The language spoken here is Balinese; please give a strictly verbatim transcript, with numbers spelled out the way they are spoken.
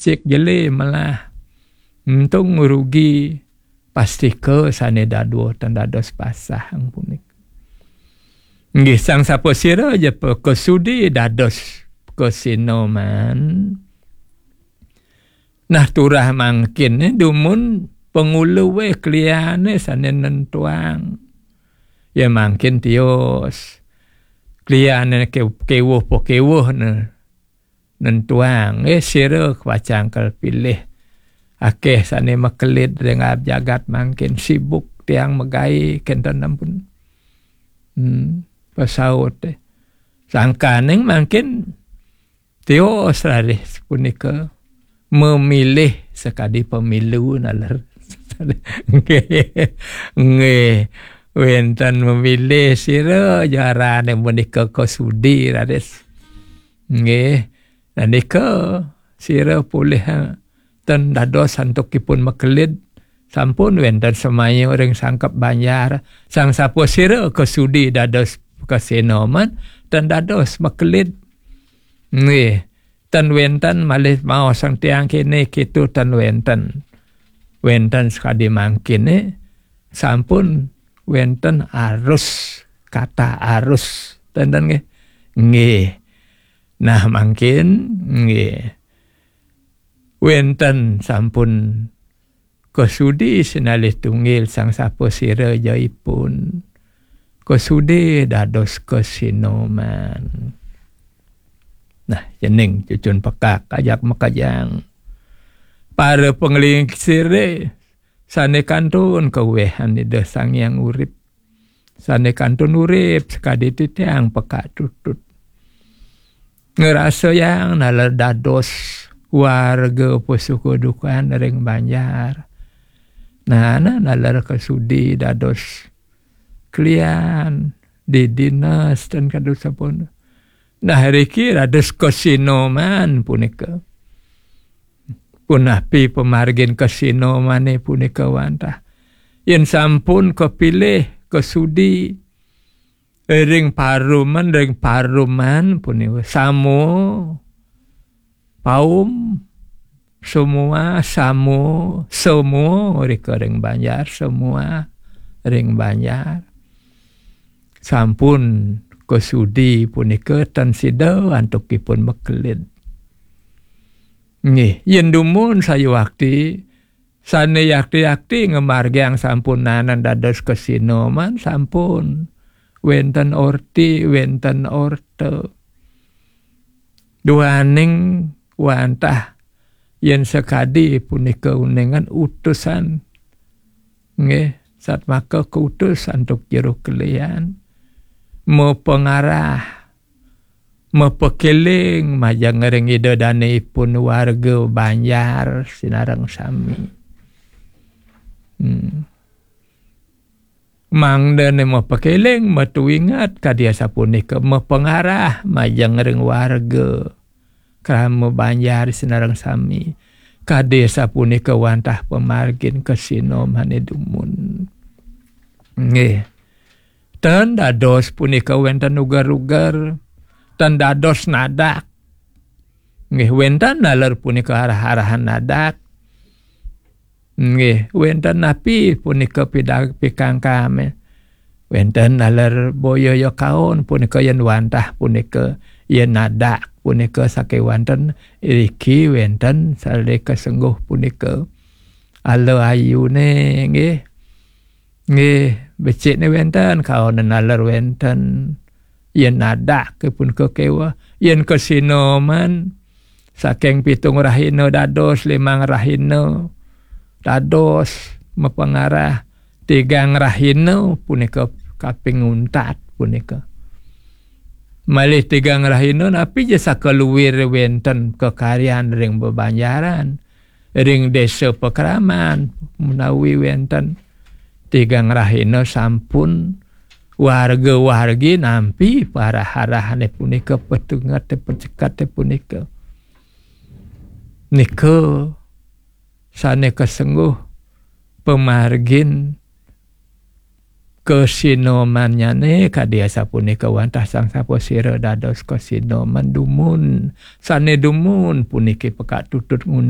cik jele melah. Untung rugi, pastika sane dadua ten dados pasang punika. Nggih, sang sapasira ja pakasudi dados kasinoman. Nah, turah mangkin dumun panguluwe kliane sane nentuang. Ya mangkin tios. Kliane ke-, kewuh pakewuh ne-, nentuang. Eh, sira pacang kapilih. Akeh sane makelid ring jagat mangkin, sibuk tiang magae kenten ampun. Hmm, pasaut eh. Sangkaning mangkin tios raris punika memilih sakadi pemilu naler. Nggih. Nggih. Wenten memilih sira ja arane punika kasudi raris. Nggih. Nah, nika sira polih, ha, ten dados antuk ipun makelid, sampun wenten semaya ring sangkep banjar. Sang sapasira kasudi dados kasinoman, ten dados makelid. Nggih, ten wenten malih maosang tiang kene kitu, ten wenten. Wenten sakadi mangkine, sampun wenten arus, kata arus. Ten, ten nggih. Nggih. Nah, mangkin nggih. Wenten sampun kasudi sinalih tunggil sang sapasira ja ipun. Kasudi dados kasinoman. Nah, cening cucun pekak ajak makejang. Para panglingsire sane kantun kawehan Ida Sang Hyang Urip. Sane kantun urip sakadi titiang pekak tutut. Ngrasayang naler dados warga pasuka dukan ring banjar. Nah, nah, naler kasudi dados klian di dinas ten kadu sampun. Nah, riki dados kasinoman punika. Punapi pamargin kasinomane punika wantah? Yen sampun kapilih kasudi ring paruman, ring paruman punika samo paum, semua samo, semua rika ring banjar, semua ring banjar. Sampun kasudi punika tan sida antuk ipun makelid. Nggih, yen dumun sayuakti, sane yakti-yakti ngamargiang sampunanan dados kasinoman, sampun wenten orti, wenten orta. Duaning wantah yen sakadi punika uningan utusan. Nggih, satmaka kautus antuk jero kelian. Mapangarah, mapakeling majeng ring Ida Dane ipun warga banjar sinareng sami. Hmm. Mangdane mapakeling, matuingat kadi asapunika, mapangarah majeng ring warga krama banjar sinareng sami. Kadi asapunika wantah pamargin kasinamane dumun. Nggih. Ten dados punika wenten uger-uger, ten dados nadak. Nggih, wenten naler punika arah-arahan nadak. Nggih, wenten napi punika pidag-, pikangkame. Wenten naler boya ya kaon punika yen wantah punika, yen nadak punika sakewanten, iriki wenten sale kasengguh punika. Ala ayune nggih. Nggih, becikne wenten, kaone naler wenten. Yen nadak ke punika keweh, yen kasinoman saking pitung rahina dados limang rahina, dados mapangarah tigang rahina punika kaping untat punika. Malih tigang rahina napi ja sakaluwir wenten kakaryan ring bebanjaran, ring desa pakraman menawi wenten tigang rahina sampun warga-wargi nampi parah-arahane punika, petungate pecekate punika. Nika sane kasengguh pamargin kasinomannyane kadi asapunika wantah sang sapasira dados kasinoman dumun. Sane dumun puniki pekak tutut nguning